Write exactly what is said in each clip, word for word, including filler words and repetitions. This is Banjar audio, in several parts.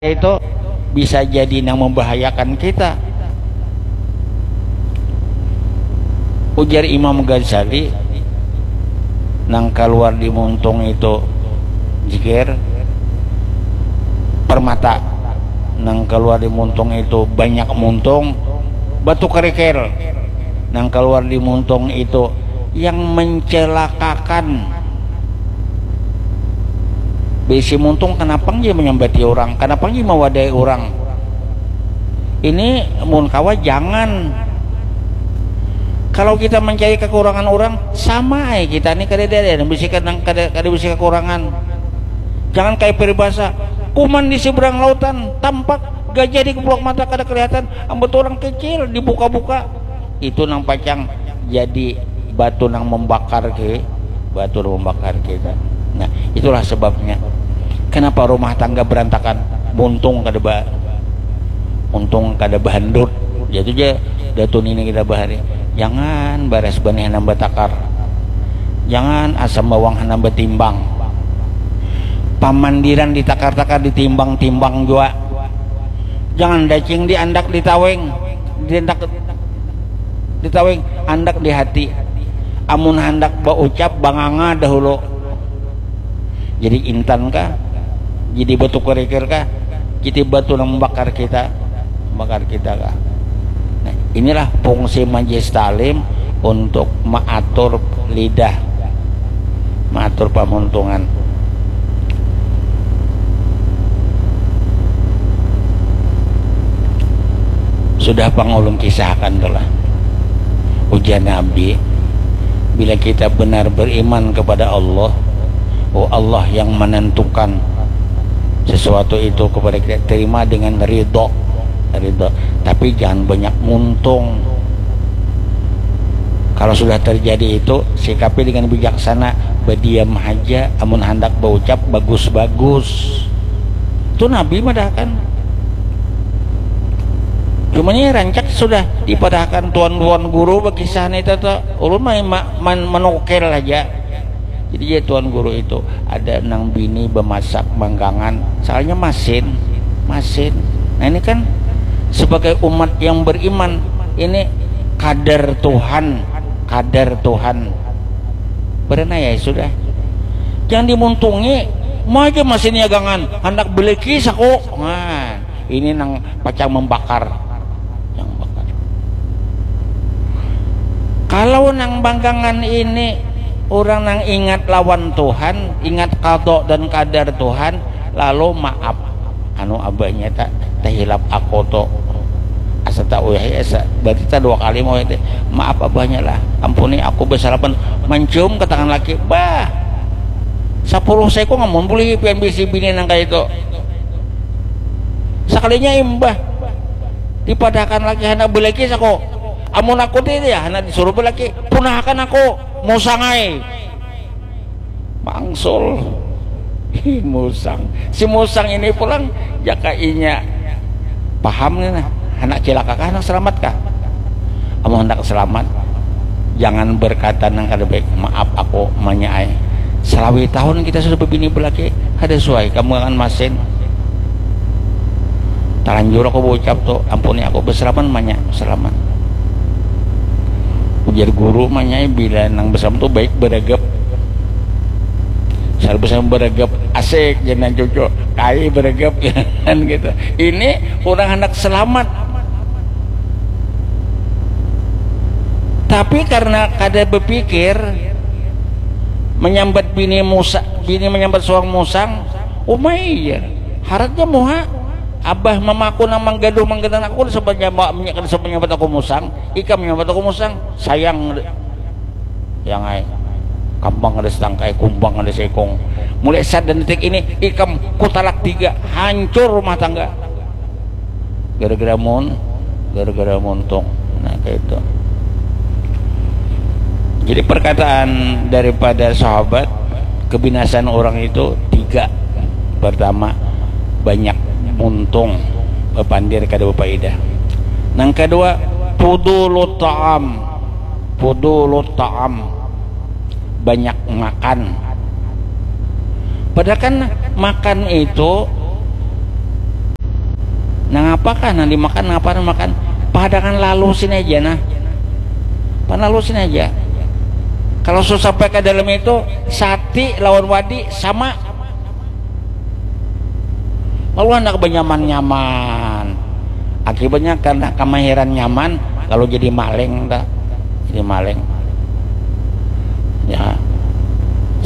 itu bisa jadi nang membahayakan kita. Ujar Imam Ghazali, nang keluar di muntung itu jikir, permata, nang keluar di muntung itu banyak muntung, batu kerikil, nang keluar di muntung itu yang mencelakakan. Bisi muntung, kenapa dia menyambati orang, kenapa dia mewadai orang? Ini mun kawa jangan. Kalau kita mencari kekurangan orang, sama ai kita ni kada ada, ada bisi kada, kada, kada bisi kekurangan. Jangan kayak peribahasa, kuman di seberang lautan tampak, gajah di keplok mata kada kelihatan, ambut orang kecil dibuka-buka. Itu nang pacang jadi batu nang membakar ke, batu nang membakar kita. Nah, itulah sebabnya kenapa rumah tangga berantakan, muntung kada ba, untung kada bahandut. Jatuh ja datu nini kita bahari, jangan baras banih nambah takar, jangan asam bawang nambah timbang, pamandiran ditakar-takar, ditimbang-timbang jua, jangan dacing diandak ditaweng, diandak ditaweng, andak di hati. Amun handak baucap, banganga dahulu. Jadi intan kah? Jadi batu kerikil kah? Jadi batu nang membakar kita, membakar kita kah? Nah, inilah fungsi majlis taklim, untuk mengatur lidah, mengatur pamuntungan. Sudah pang ulun kisahkan tulah. Ujar Nabi, bila kita benar beriman kepada Allah, oh, Allah yang menentukan sesuatu itu kepada kita, terima dengan ridho, ridho. Tapi jangan banyak muntung. Kalau sudah terjadi itu, sikapi dengan bijaksana, berdiam aja. Amun handak baucap, bagus-bagus. Itu Nabi madahkan. Cuma ini rancak sudah dipadahkan tuan-tuan guru bakisah ni, tata ulun main ma- man- manukil aja. Jadi ya, tuan guru itu ada nang bini bemasak manggangan, soalnya masin, masin. Nah, ini kan sebagai umat yang beriman, ini kadar Tuhan, kadar Tuhan. Berenai ya sudah. Jangan dimuntungi, mau aja masin nyagangan, handak beliki saku. Nah, ini nang pacang membakar. Yang bakar. Kalau nang banggangan ini orang nang ingat lawan Tuhan, ingat qada dan qadar Tuhan, lalu maaf. Anu, abahnya tak terhilap aku tu. Asa tak uyahi, asa berarti tak dua kali mau itu. Maaf abahnya lah. Ampuni aku, besalapan, mencium ke tangan laki. Bah, sepuluh sekung amun boleh pian bisi bini nang kayak itu. Sekalinya imbah dipadahakan laki, handak belaki saku. Amun aku ti ya, handak disuruh belaki, punahakan aku, musang ai. Mangsul. Hi, musang. Si musang ini pulang, jaka inya paham nih nah, handak cilaka kah, handak selamat kah? Amun handak selamat, jangan berkata nang kada baik, maaf aku manya ai. Selawi tahun kita sudah berbini belaki, kada suai kamu akan masin. Talanjur aku berucap tu, ampuni aku, beseraman manya, seraman. Ujar guru manya, bila nang beseraman tu baik beragap. Selalu beseraman beragap, asik, jangan cucu, kai beragap, jangan gitu. Ini orang hendak selamat. Tapi karena kada berpikir, menyambat bini musa, bini menyambat suang musang, umai ya. Haratnya muha, abah mamaku nang manggaduh manggaduh aku, kada sempat nyambat, kada sempat nyambat aku musang, ikam nyambat aku musang, sayang. Yang ai, kambang ada setangkai, kumbang ada seikung. Mulai saat dan detik ini, ikam kutalak tiga, hancur rumah tangga. Gara-gara mun, gara-gara muntung. Nah, kayak itu. Jadi perkataan daripada sahabat, kebinasaan orang itu tiga. Pertama, banyak muntung, bapandir kada bapaidah. Nang kedua, fudulut ta'am. Fudulut ta'am, banyak makan. Padahal kan makan itu Nah, apakah nang dimakan, apa nang makan? Padangan lalu sini aja, nah. Pan lalu sini aja. Kalau sudah sampai ke dalam itu, sati lawan wadi sama. Lalu anak benyaman-nyaman. Akibatnya karena kemahiran nyaman, lalu jadi maling, tak? Jadi maling. Ya.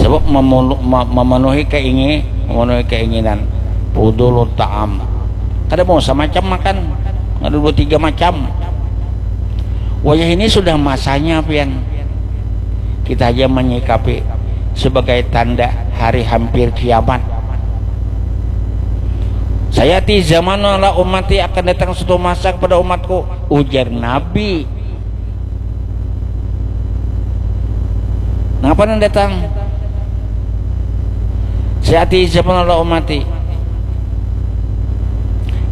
Sebab memunu- me- memenuhi keingin, memenuhi keinginan. Fudulu ta'am. Kada mau semacam makan. Ada dua tiga macam. Wayah ini sudah masanya, pian. Kita aja menyikapi sebagai tanda hari hampir kiamat. Saya ti zaman ala umati, akan datang suatu masa kepada umatku, ujar Nabi. Napa nang datang? Saya ti zaman ala umati.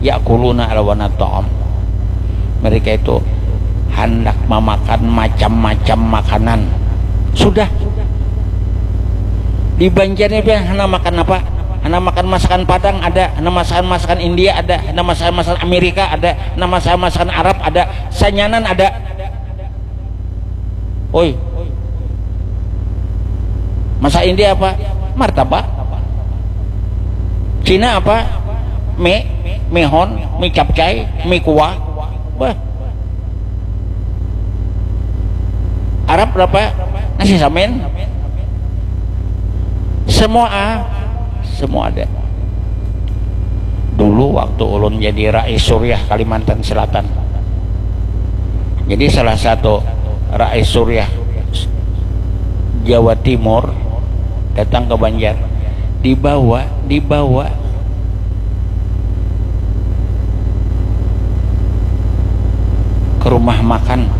Ya'kuluna alwana ta'am. Mereka itu hendak memakan macam-macam makanan. Sudah. Di Banjar ini, pian, hendak makan apa? Hendak makan masakan Padang ada, hendak masakan masakan India ada, hendak masakan masakan Amerika ada, hendak masakan masakan Arab ada, sanyanan ada. Oi. Masa India apa? Martabak. Cina apa? Mie, mihon, mie capcay, mie kuah. Wah. Arab berapa? Nasi samin. Semua, ah, semua ada. Dulu waktu ulun jadi Rais Suriah Kalimantan Selatan, jadi salah satu Rais Suriah Jawa Timur datang ke Banjar, dibawa, dibawa ke rumah makan.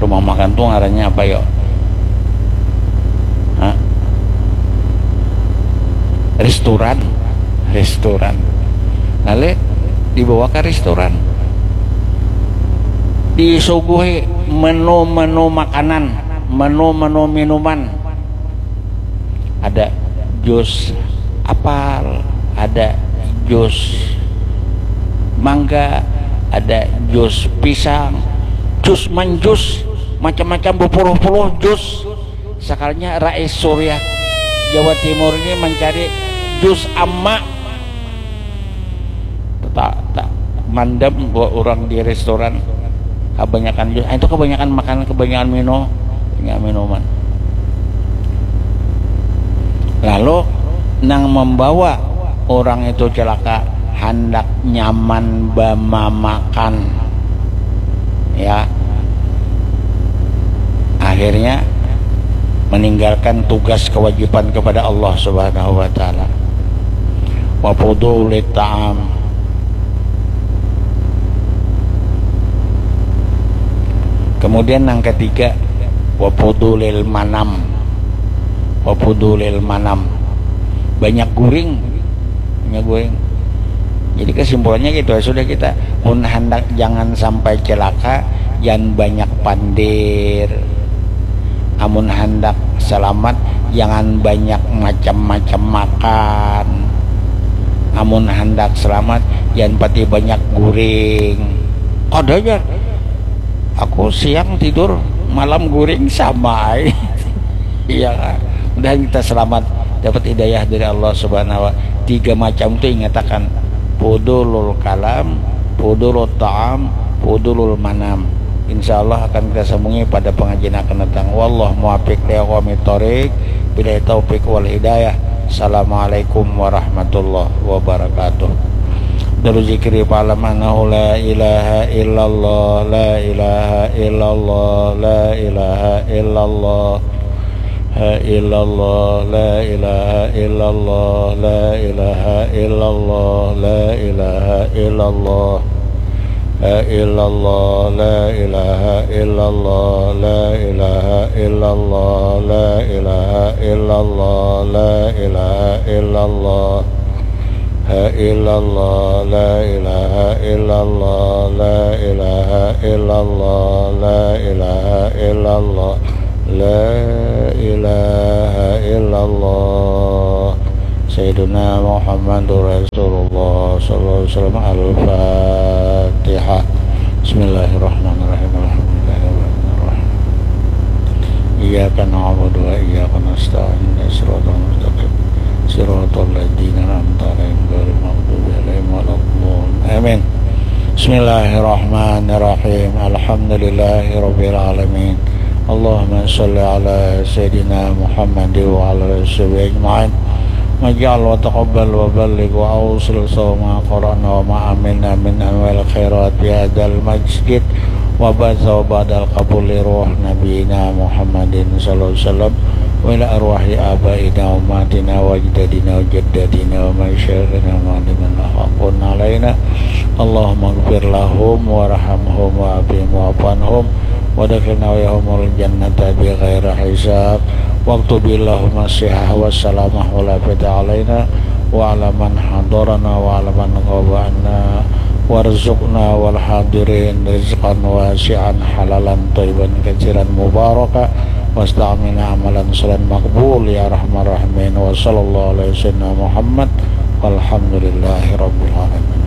Rumah makan tuh ngarannya apa, yo? Hah? Restoran. Restoran. Lalu dibawa ke restoran, disuguhi menu-menu makanan, menu-menu minuman. Ada jus apel, ada jus mangga, ada jus pisang, jus manjus, macam-macam, bepuluh-puluh jus. Sakalinya Rais Suriah Jawa Timur ini mencari jus ama. Tak, tak mandam buat orang di restoran, kebanyakan jus. Ah, itu kebanyakan makan, kebanyakan minum, kebanyakan minuman. Lalu nang membawa orang itu celaka, hendak nyaman bamamakan, ya, akhirnya meninggalkan tugas kewajiban kepada Allah Subhanahu wa Ta'ala. Wa fudulit ta'am. Kemudian yang ketiga, wa fudulil manam. Wa fudulil manam. Banyak guring. Banyak guring. Jadi kesimpulannya gitu ya, sudah kita pun hendak jangan sampai celaka, jangan banyak pandir. Amun hendak selamat, jangan banyak macam-macam makan. Amun hendak selamat, jangan pati banyak guring. Kada, jar. Aku siang tidur, malam guring, sama ai. Iya, kan? Mudahan kita selamat, dapat hidayah dari Allah Subhanahu wa. Tiga macam tu ingatakan. Fudulul kalam, fudulul ta'am, fudulul manam. Insya Allah akan kita sambungi pada pengajian akan datang. Wallah muwafiq li aqwamit thoriq. Billahi taufiq wal hidayah. Assalamualaikum warahmatullahi wabarakatuh. Daru zikri fa'lam annahu la ilaha illallah, la ilaha illallah, la ilaha illallah. Ha illallah, la ilaha illallah, la ilaha illallah, la ilaha illallah. Ha illallah, la ilaha illallah, la ilaha illallah, la ilaha illallah, la ilaha illallah. Ha illallah, la ilaha illallah, la ilaha illallah, la ilaha illallah, la ilaha illallah. Sayyiduna Muhammadur Rasulullah Al-Fatihah. Bismillahirrahmanirrahim. Alhamdulillahirrahmanirrahim. Iyyaka na'budu wa iyyaka nasta'in. Shiratal mustaqim. Shiratal ladzina an'amta 'alaihim ghairil maghdubi 'alaihim waladdallin. Amin. Bismillahirrahmanirrahim. Alhamdulillahirabbil alamin. Allahumma shalli ala sayyidina Muhammad wa ala alihi wa sahbihi ajma'in. Waj'al wa taqabbal wa balligh wa awsil sawa ma qara'na wa ma amilna min anwa'il khairat fi hadzal masjid wa ba'da wa ba'dal qabul li ruh nabiyina Muhammadin sallallahu alaihi wasallam wa ila arwahi abaina wa ummahatina wa ajdadina wa jaddatina wa masyaikhina wa mu'allimina haqqun alaina. Allahumma ighfir lahum warhamhum wa afihim wa'fu anhum wa adkhilna wa iyyahumul jannata bi ghairi hisab. Waktub lahum as-sihah was salamah wal afiyata alaina wa ala man hadarana wa ala man ghaba anna. Warzuqna wal hadirin rizqan wasi'an halalan thayyiban katsiran mubaraka wasta'milna amalan shalihan maqbul ya arhamar rahimin. Wa sallallahu ala sayyidina Muhammad walhamdulillahi rabbil alamin.